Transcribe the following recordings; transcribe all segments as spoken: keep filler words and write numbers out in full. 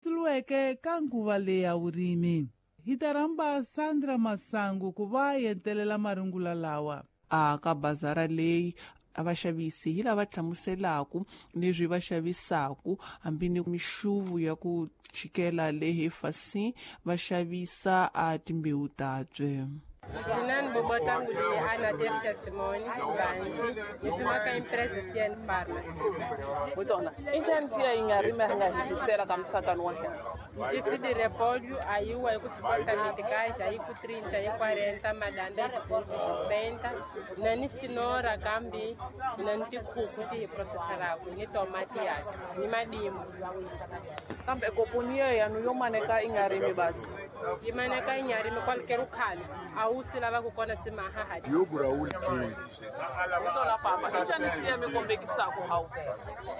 Tuluweke ka nguva leyi ya vurimi. Hi ta rhamba Sandra Masangu ku va yentelela marungula lawa. A ka bazara leyi a vaxavisi hi lava hlamuselaku leswi va xavisaku hambi ni mixuvu ya ku chikela lehe fasi va xavisa a timbewu tabye. Mina ni bobotangu leyi Ana Tercia Simone Banzi yi kumaka empresa C N Farmers. Botona, i njhani siya yi nga rimi a nga hetisela ka musakani wa hansi? Tisi di repolho aí o aí com cinquenta meticais, aí com trinta, aí quarenta, madanda aí com sessenta, nani cenoura kambi, nani tikhuku ti hi processaraku, ni tomati ya, ni madimbu. Kambe koponia yanu yo maneka i nga rimi basi. Yi maneka i nga rimi qualquer khale. A wu swi lava ku kona swi maha yo gura wu Tona papa, i njhani siya mi kombekisaku hawu?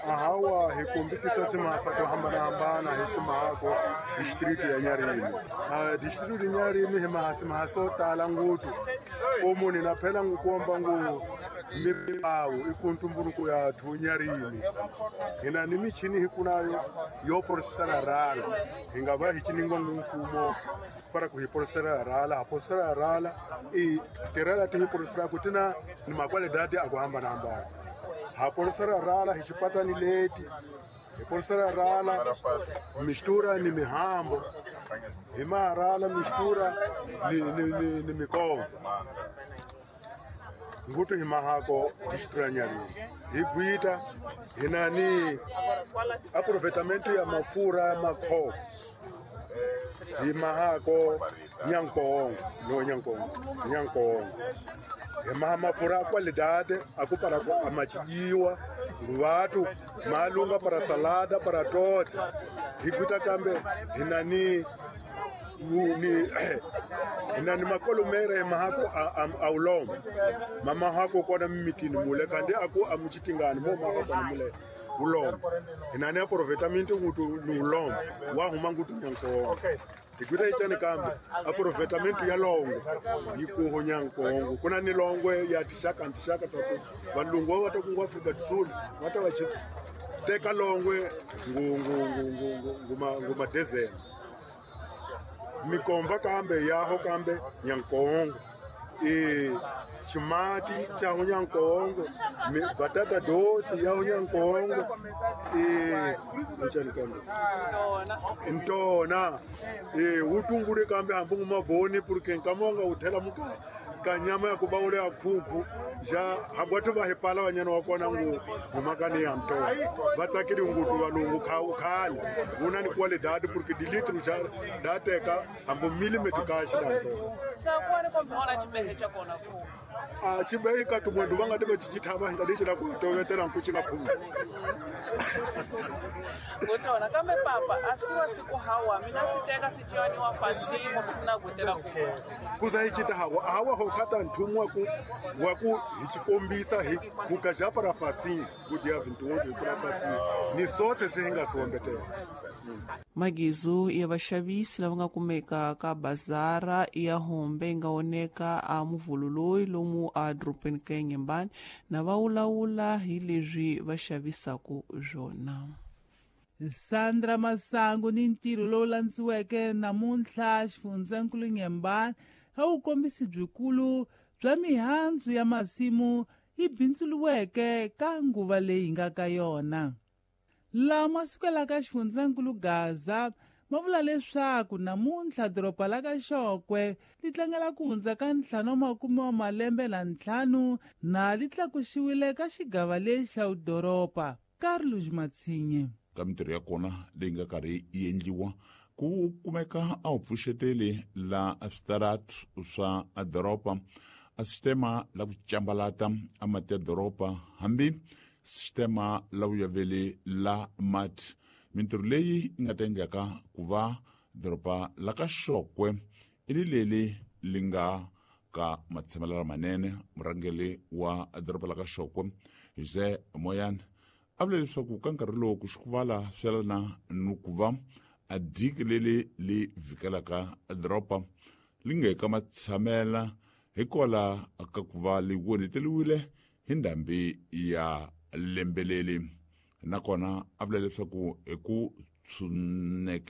Ahawa hi kombekisa swimahasa ku hambanahambana hi swimahako district ya Nyarimi. Ah, district ya Nyarimi hi maha swimaha swo tala ngopfu. Ko munhu na phela n'wi komba ngo mibawu i ku ntumbuluko ya thu Nyarimi. Hina ni michini hi kunayo yo processara rala. Hi nga va hi ciningwa mfumo para ku hi processara rala, ha processara rala i tirela ti hi processara ku tina ni makwalidadi a ku hambanahambana. Ha processara rala hi xipatani leti. Hi processara rala mistura ni mihambo. Hi marala mistura ni ni ni, ni mikongo. Ngutu hi mahako district ya Nyarimi. Hi gwita hi na ni aproveitamento ya mafura ya makho. Hi mahako Nyankongo, no Nyankongo, Nyankongo. Hi maha mafura a qualidade, a ku para ku amachijiwa, vatu malunga para salada para tote. Hi gwita kambe hi na ni ni hi na ni makolomere hi mahako a, a, a ulombo. Mama hako kona mimitini mule kandi aku amuchitingani mo mahako kona mule ulombo. Hi na ni aproveitamento ngutu ni ulombo wa huma ngutu Nyankongo. Hi gwita ichani kambe aproveitamento ya longo yi kuho Nyankongo. Kuna ni longwe ya tixaka ni tixaka ta ku valungu va ta ku Afrika do Sul va ta va chi teka longwe ngu ngu ngu ngu ngu nguma nguma desert. Mikomba kambe yaho kambe Nyankongo. E chimati cha Nyankongo, batata doce ya Nyankongo. E njani kambe? Ntona. E utungure kambe hambu maboni porque nkamonga uthela muka ka nyama ya kubaule ya khuku ja habwatu va hepala vanyana wa kona ngu ngumakani ya ntona. Va tsakeli ngutu valungu kha khale una ni qualidade porque di litro ja da teka hambu millimeter ka xi da ntona. Sa kwani kombe ona chibehe cha kona ku. A chibehe ka tumwendu va nga tiva chichithava nga lexi la ku tovetela ku xi nga phumi. Ngotona kambe papa asiwa siku hawa mina siteka sichiwani wa fasi mo sina gutela ku. Kuza hi chita hawa hawa ho khata nthumu wa ku wa ku hi xikombisa hi khuka ja para fasi ku dia vintu hi kula patsi ni sotse se hi nga sombetela. Magizu ya vaxavisi lava nga kumeka ka bazara ya Hombe yi nga oneka a muvhulu lomu a dorobeni ka Nyembani na va wulawula hi leswi va xavisaku swona. Sandra Masangu ni ntirho lowu landziweke namuntlha xifundzankulu Nyembani a wu kombisi byikulu bya mihandzu ya masimu yi bindzuriweke ka nguva leyi hi nga ka yona. Lama sukelaka xifundzankulu Gaza ma vula leswaku namuntlha doroba la ka Xokwe li tlangela ku hundza ka ntlhanu wa makume wa malembe na ntlhanu na li tlakuxiwile ka xigava lexi xa vudoroba. Carlos Matsinye. Ka mintirho ya kona leyi nga karhi yi endliwa ku kumeka a wu pfuxeteli la switaratu swa doroba a sistema la ku cambalata a mati ya doroba hambi sistema la vuyaveli la mati. Mintirho leyi yi nga ta endlaka ku va doroba la ka Xokwe i ri leli li nga ka matshamelo lamanene. Murhangeri wa doroba la ka Xokwe Jose Moyane a vula leswaku ka nkarhi lowu ku xikuvala swelana ni ku va a diki leli li vhikelaka doroba li nga eka matshamela hikwalaho ka ku va li onheteriwile hi ndhambi ya lembe leri. Nakona a vula leswaku hi ku tshuneke.